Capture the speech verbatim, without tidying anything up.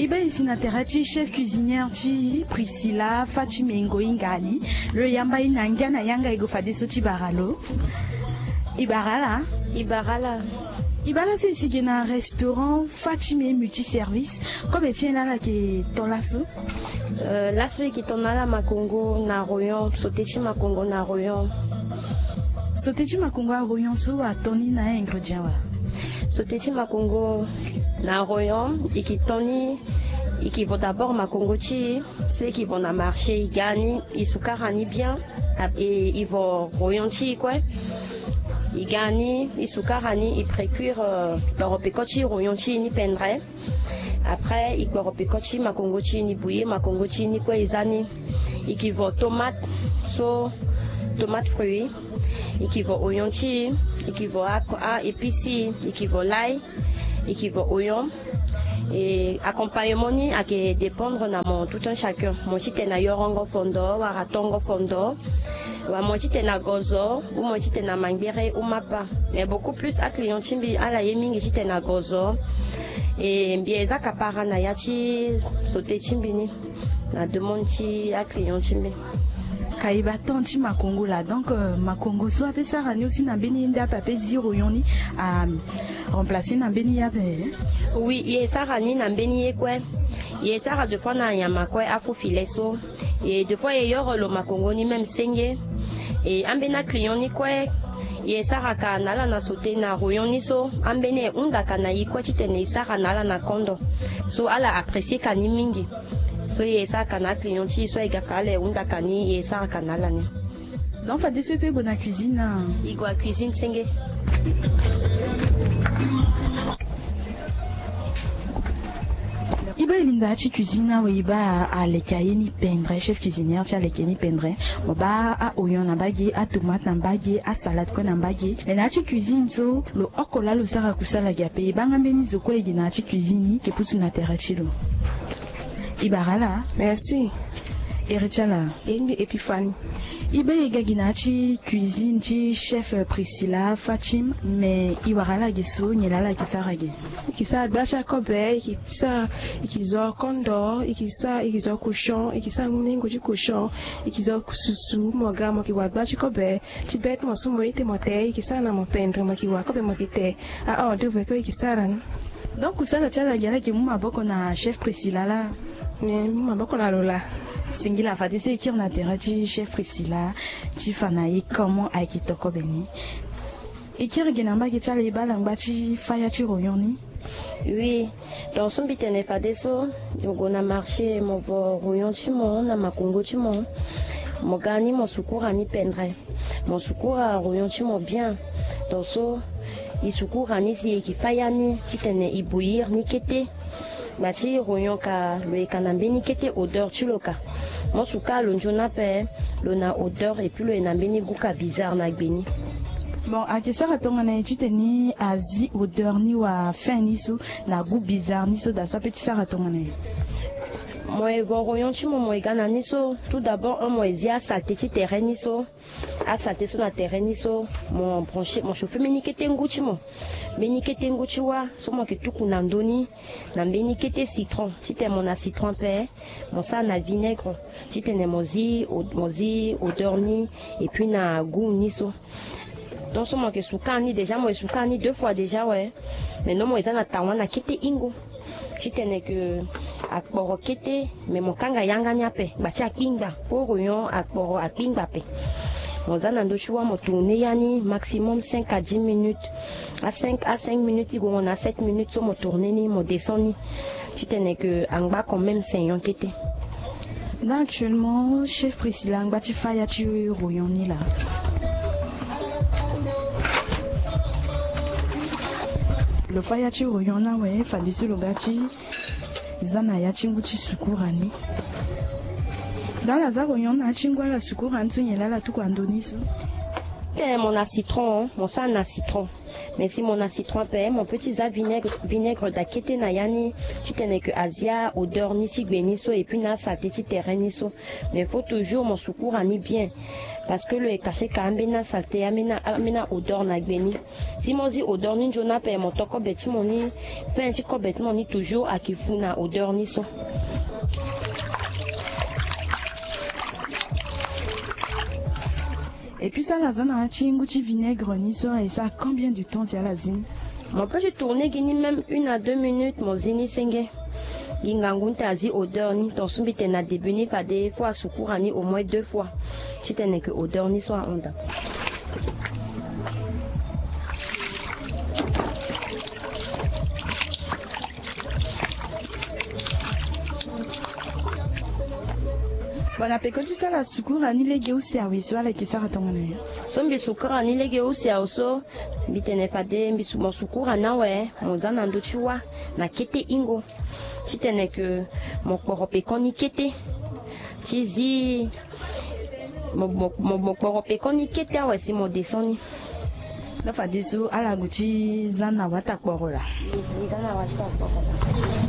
E baa e si na tere ti chef cuisinière ti Priscilla Fatime Ngoyi Ngali. Lo yamba e na ngia na yanga e gue fadeso ti bara lo. E bara ala. E bara ala. E baa laso e si ge na restaurant Fatime Multiservice. Kobe ti nyen laa ala yeke to laso? Euh, laso e yeke to na ala makongo na royon, sauté ti makongo na royon. Sauté ti makongo à royon so ato ni na ingrédient wala? Sauté ti makongo na royon e yeke to ni. E yeke vo d'abord makongo ti e so e yeke vo na marché, e ga ni, e sukara ni bien. E, e vo royon ti e kue. E ga ni, e sukara ni, e précuire, euh, kporo peko ti royon ti e ni pendre. Après e kporo peko ti makongo ti e ni bouillir, makongo ti e ni kue e za ni. E yeke vo tomate so, tomate fruit. E yeke vo oignon ti e. E yeke vo a, a épice ti e. E yeke vo l'ail. E yeke vo oignon. E accompagnement ni ayeke dépendre na mo tout un chacun. Mo titene ayorongo fondo wala atongo fondo, wala mo titene agozo, ou mo titene amangbere ou mapa. Mais beaucoup plus aclient ti mbi ala ye mingi titene agozo. E mbi e za kapara na ya ti sauté ti mbi ni na demande ti aclient ti mbi. Ka e baa temps ti makongo laa, donc, euh, makongo so ape sara ni aussi na mbeni ye nde ape ape zi royon ni, a remplacer na mbeni ye ape? Oui, e sara ni na mbeni ye kue. E sara deux fois na nyama kue, afo filet so. E deux fois e yoro lo makongo ni même senge. E ambeni aclient ni kue e sara ka na ala na sauté na royon ni so. Ambeni e hunda ka na e kue titene e sara na ala na kondo. So ala apprécier ka ni mingi. So e sara ka na aclient ti e so e ga ka ala e hunda ka ni, e sara ka na ala ni. Donc fadeso e pe gue na cuisine na? E gue na cuisine senge. E baa e linda ya ti cuisine awe, e baa aleke aye ni pendre, chef cuisinière ti aleke ni pendre. Mo baa a-oignon na mbage, atomate na mbage, asalade kue na mbage. Mais na ya ti cuisine so lo oko laa lo sara kusala ge ape, e baa nga mbeni zo kue e ge na ya ti cuisine ni e yeke pusu na tere ti lo. E bara ala. Merci. Iri ti ala? E mbi Epiphanie. E baa e ga gi na ya ti cuisine ti chef Priscilla Fatime, mais e wara ala ge so nyen laa ala yeke sara ge? E yeke sara gba ti akobe, e yeke sara, e yeke zo kondo, e yeke sara, e yeke zo cochon, e yeke sara ngu ni ngu ti cochon, e yeke zo susu, mo ga mo yeke wa gba ti kobe ti bête, mo so mo ite mo te, e yeke sara na mo pendre, mo yeke wa kobe mo yeke te. Ah oh, de vrai que e yeke sara ni. Donc kusala ti ala ge ala yeke mu maboko na chef Priscilla laa? Ni mu maboko na lo laa. Singila fadeso e kiri na tere ti chef Priscilla ti fa na e comment ayeke to kobe ni. E kiri ge na mbage ti ala e baa ala ngba ti faya ti royon ni. Oui. Donc so mbi tene fadeso, mo gue na marché mo vo royon ti mo na makongo ti mo. Mo ga ni mo sukura ni pendre. Mo sukura royon ti mo bien. Donc so e sukura ni si e yeke faya ni titene e bouillir ni kete. Gba ti royon ka lo yeka na mbeni kete odeur ti lo ka. Mo suka lo nzoni ape, lo na odeur et puis lo ye na mbeni goût ka bizarre na gbe ni. Bon, ayeke sara tongana nyen titene azi odeur ni wala fin ni so na goût bizarre ni so daa so ape ti sara tongana nyen? Mo ye vo royon ti mo, mo ye ga na ni so, tout d'abord un mo ye zi asaleté ti tere ni so. Asaleté so na tere ni so, mo brancher, mo chauffer mbeni kete ngu ti mo. Mbeni kete ngu ti wâ so mo yeke tuku na ndö ni na mbeni kete citron. Titene mo na citron ape, mo sara na vinaigre titene mo zi, mo zi odeur ni et puis na goût ni so. Donc so mo yeke suka ni déjà, mo ye suka ni deux fois déjà awe. Maintenant mo ye za na tawa na kete hingo titene ke akporo kete, mais mo kanga yanga ni ape gba ti akpingba. Pour royon akporo akpingba ape. Mo za na ndö ti wâ mo tourner ya ni maximum cinq à dix minutes. A cinq, a cinq minutes ti gongo na a sept minutes so mo tourner ni mo descend ni. Titene ke angba quand même saignon kete. Là actuellement chef Priscilla angba ti faya ti royon ni laa. Lo faya ti royon ni awe, fadeso lo ga ti za na ya ti ngu ti sukura ni. Dans ala za royon na ya ti ngu ala sukura ni so nyen laa ala tuku na ndö ni so? Tene mo na citron, mo sara na citron. Mais si mo na citron ape, mo peut ti za vinaigre, vinaigre daa kete na ya ni titene ke azi aodeur ni ti gbe ni so et puis na asaleté ti tere ni so. Mais faut toujours mo sukura ni bien. Parce que lo ye cacher ka ambeni asalte, ambeni ambeni aodeur na gbe ni. Si mo zi odeur ni nzoni ape, mo to kobe ti mo ni, fin ti kobe ti mo ni toujours ayeke fu na odeur ni so. Et puis so ala za na ya ti ngu ti vinaigre ni so, e sara combien de temps si ala zi ni? Mo peut ti tourner gi ni même une à deux minutes, mo zi ni senge. Gi ngangu ni ta azi odeur ni, ton so mbi tene na début ni fade fo asukura ni au moins deux fois titene ke odeur ni so ahunda. Bon, na peko ti so ala sukura ni lege use awe so, ala yeke sara tongana nyen? So mbi sukura ni lege use awe so, mbi tene fade mbi su mo sukura ni awe, mo za na ndö ti wâ na kete hingo titene ke mo kporo pekoni kete ti zi mo mo mo mo kporo pekoni kete awe si mo descend ni. Nda fadeso ala gue ti za na wata kporo laa. Za na wata kporo laa.